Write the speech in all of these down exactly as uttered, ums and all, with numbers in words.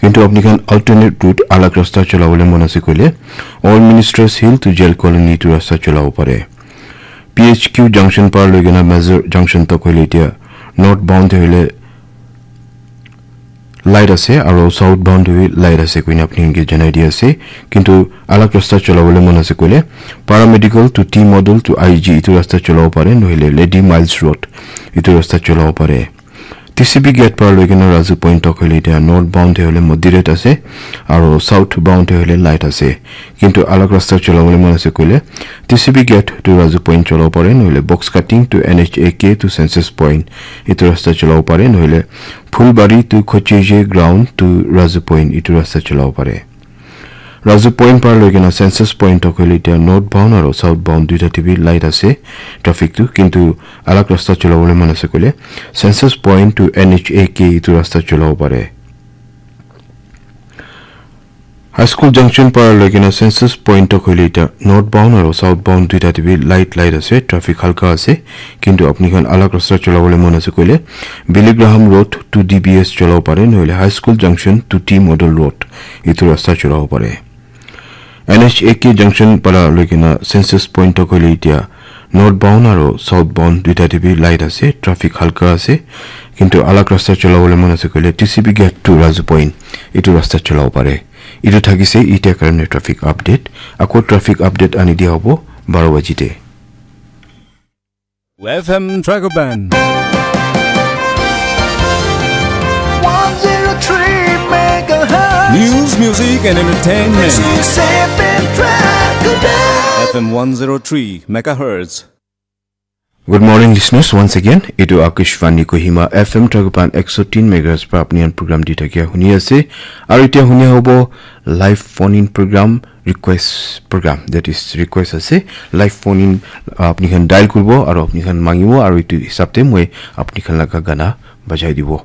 Kintu apni khan alternate route alag rasta cholabole mon ase koile, Old Ministers Hill to Jail Colony itu rasta cholabo pare. P H Q junction para loi kena Mazur junction tok hoile itya north bound te hoile light ase aro south bound te bi light ase koina apni khan ke janai di ase. Kintu alag rasta cholabole mon ase koile, Paramedical to T Model to I G itu rasta cholabo pare, nohile Lady Miles Road itu rasta cholabo pare. T C B gate para loi kena Razu Point tok hoile itya north bound te hoile moderate ase aro south bound te hoile light ase. Kintu alag rasta cholabole mon ase koile, T C B gate to Razu Point cholabo pare, nohile Box Cutting to N H A K to Census Point itu rasta cholabo pare, nohile Phulbari to Khocheje ground to Razu Point itu rasta cholabo pare. Razu Point para loi kena Census Point tok hoile itya north bound aro south bound duita te bi light ase traffic tu, kintu alag rasta cholabole mon ase koile Census Point to N H A K itu rasta cholabo pare. High School junction para loi kena Census Point tok hoile itya north bound aro south bound duita te bi light light ase, traffic halka ase, kintu apni khan alag rasta cholabole mon ase koile Billy Graham Road to D B S cholabo pare, nohile High School junction to T Model Road itu rasta cholabo pare. N H A K junction para loi kena Census Point tok hoile itya north bound aro south bound duita te bi light ase, traffic halka ase, kintu alag rasta cholabole mon ase koile T C B gate to Razu Point itu rasta cholabo pare. Itu thakise itya karone traffic update. Ako traffic update ani dia hobo baro baji te. F M Tragoban. One zero three megahertz. News, music, and entertainment. This is F M Tragoban. F M one zero three megahertz. Good morning, listeners. Once again, itu Akashvani Kohima F M Tragoban ekso tin megahertz para apni khan program di thakia huni ase. Aru itya huni hobo live phone in program, request program, that is request ase. Live phone in, uh, apni khan dial kuribo aru apni khan mangibo aru itu hisab te moi apni khan laga gana bajai dibo.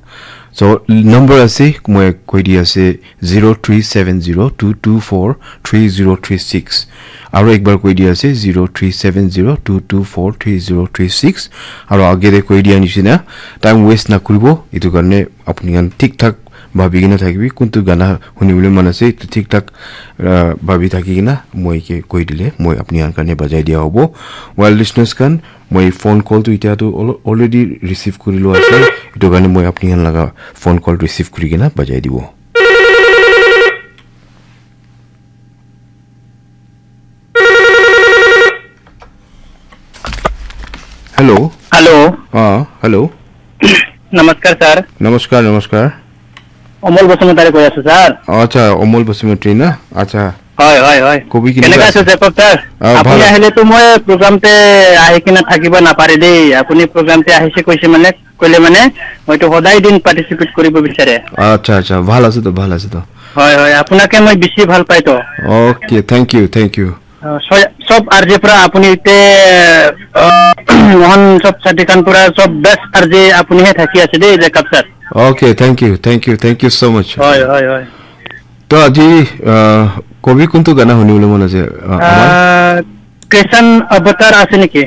So number ase, moi koi di ase zero three seven zero two two four three zero three six. Aru ekbar koi di ase zero three seven zero two two four three zero three six. Aru age te koi dia nishina time waste na kuribo, itu karone apni khan thik thak bhabi kena thakibi, kuntu gana hunibole mon ase, itu thik thak, ah, bhabi thaki kena moi ke koi dile, moi apni khan karne bajai dia hobo. Well, listeners khan, moi phone call tu itya tu al-, already receive kuri lo ase, itu karne moi apni khan laga phone call receive kuri kena bajai dibo. Hello. Hello. Ah, hello. Namaskar, sir. Namaskar, namaskar. Omol Basumatary কৈ আছো, ছাৰ। আচ্ছা, অমল বসুমতাৰী না? আচ্ছা। হয়, হয়, হয়। কবি কেনেকুৱা কেনেকা আছে? আছে, জেকব ছাৰ? আহ, আপুনি ভাল। আহিলেতো মই প্ৰগ্ৰামতে আহি কিনে থাকিব নাপাৰে দেই। আপুনি প্ৰগ্ৰামতে আহিছে কৈছে মানে, ক'লে মানে, মইতো সদায় দিন পাৰ্টিচিপেট কৰিব বিচাৰে। আচ্ছা, আচ্ছা, ভাল আছে তো, ভাল আছে তো। হয়, হয়, আপোনাকে মই বেছি ভাল পাই তো। Okay, thank you, thank you. অ, চ-, চব আৰ জে পৰা আপুনি এতিয়া, অ, মহান চব চাতিকান পৰা চব বেষ্ট আৰ জে আপুনিহে থাকি আছে দেই, Jacob sir. Okay, thank you, thank you, thank you so' much. হয়, হয়, হয়। তো আজি, আহ, কবি কোনটো গানা শুনিবলৈ মন আছে, আহ, আমাৰ? আহ, কৃষণ অৱতাৰ আছে নেকি?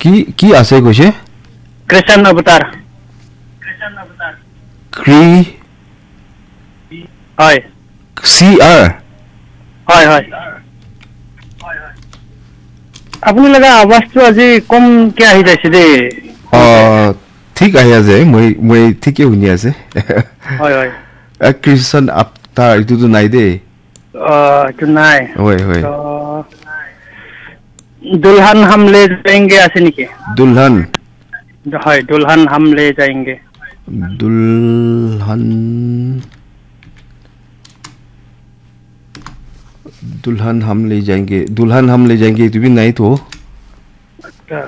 কি, কি আছে কৈছে? কৃষণ অৱতাৰ। কৃ- হয়। চি আৰ? হয়, হয়। আপুনি লগা আৱাজটো আজি কমকে আহি যাইছে দেই। অ, ঠিক আহি আছে, মই, মই ঠিকে শুনি আছে। হয়, হয়। আ, কৃষণ আপ্তা এইটোতো নাই দেই। অ, এইটো নাই। হয়, হয়। তো, দুলহান হাম লে যায়েংগে আছে নেকি? দুলহান? হয়, দুলহান হাম লে যায়েংগে। দুলহান, দুলহান হাম লে যায়েংগে, দুলহান হাম লে যায়েংগে, এইটো বি নাই তো। আচ্ছা।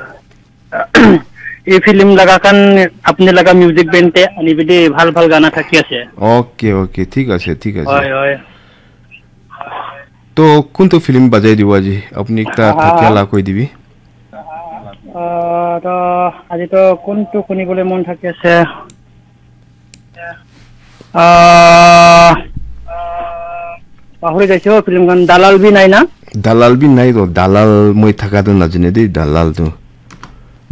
এই ফিল্ম লগা খান আপুনি লগা মিউজিক বেণ্ড তে আনিবি দেই, ভাল ভাল গানা থাকি আছে। অ'কে, অ'কে, ঠিক আছে, ঠিক আছে। হয়, হয়। তো কোনটো ফিল্ম বাজাই দিব আজি? আপুনি একটা আহা। থাকিয়ালা কৈ দিবি। আহ, তো আজি তো কোনটো শুনিবলৈ মন থাকি আছে? আহ, পাহৰি যাইছো ফিল্মখন। দালাল বি নাই না? দালাল বি নাই তো, দালাল মই থাকাটো নাজানে দেই, দালালটো।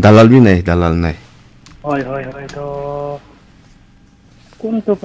দালাল বি নাই, দালাল নাই। হয়, হয়, হয়, তো কোনটো পৰা